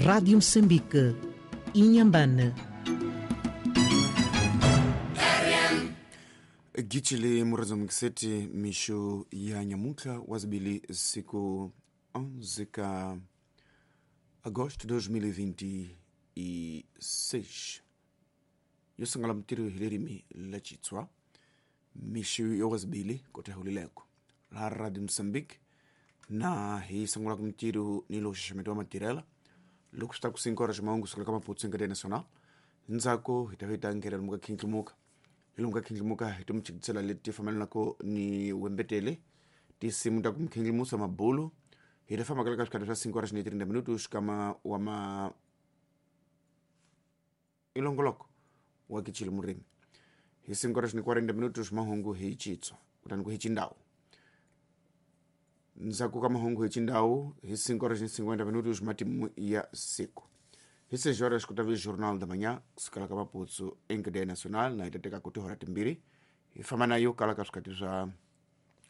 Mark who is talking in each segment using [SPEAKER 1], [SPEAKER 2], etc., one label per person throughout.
[SPEAKER 1] Rádio Moçambique, Inhambane.
[SPEAKER 2] Gichili murazo mkiseti misho ya nyamuka wazibili siku 11 ka agosto 2026 yosangala mtiro hilerimi la chitswa misho ya wazibili kotehulileko la Radio Moçambique na hi sangula kumtiro nilo xaxameti wa matirela loko swi ta ku 5 horas mahungu sukela ka maputsu nkateya nacional ndzhaku hi ta va hi ta nghenela lomu ka khindlimuka hi lomu ka khindlimuka hi tomuchikisela leti fambelanaka ni wembetele tinsimu ta ku mukhindlimusa mabulu hi ta famba ka swikhati swa 5 horas ni 30 minutos xikama wa ma ilongoloko wa kichile murimi hi 5 horas ni 40 minutos mahungu hi chitswa kutani ku hi chindawu ndzhaku ka mahungu hi chindawu hi 5 horas ni 50 minutos matimu ya siku hi 6 horas ku ta vi jornal da manhã kusukela ka maputsu encadeia nacional na hi ta teka ku tihora timbirhi hi famba na yo kala ka swikhati swa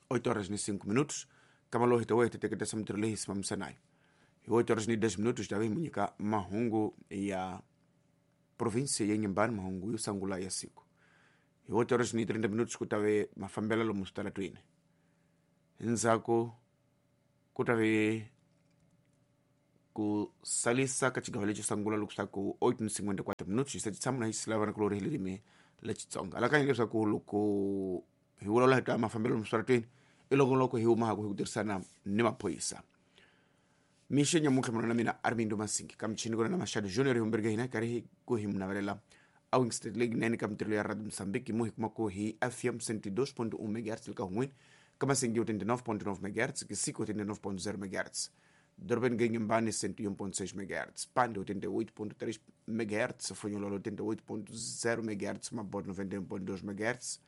[SPEAKER 2] 8 horas ni 5 minutos kama lowu hi ta hi ta teketesa mintirho leyi hi simamisanayo hi 8 horas ni 10 minutos hi ta va hi mu nyika mahungu ya provinsia ya Inhambane mahungu yo sungula ya siku hi 8 horas ni 30 minutos ku ta ve mafambelo lomu switaratweni ndzhaku ku ta ve ku salisa ka xigava lexo sungula loko swi ta ku 8:54 minutos hi se tshama na hi silavana ku lori hi ririmi la Xitsonga alakanya leswaku loko hi vulavula hi ta mafambelo lomu switaratweni i loko loko hi humaka hi ku tirhisana ni maphorisa mixo nyamuntlha munhu na mina Armindo Masingi ka michini kona na Mashado Junior hi humbereke hina karhi ku hi munavelela a Wingstate League 9 ka mintirho ya Radio Mozambique mo hi kuma ku hi FM 102.1 MHz ka hun'wini ka Masingi 89.9 MHz Kisiko 89.0 MHz Dorobeni ga Inhambane 101.6 MHz Pande 88.3 MHz Fonhololo 88.0 MHz Mabote 91.2 MHz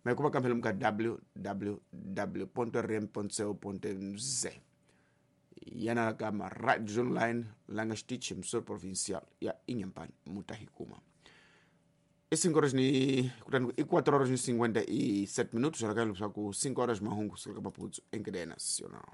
[SPEAKER 2] Maikuba kamphela muka www.rm.co.mz yana kama radio online langa xitichi msor provincial ya Inhambane mutahikuma i 5 horas ni kutani i 4 horas ni 57 minutos alakanya leswaku 5 horas mahungu kusukela ka maputsu encadeia nacional.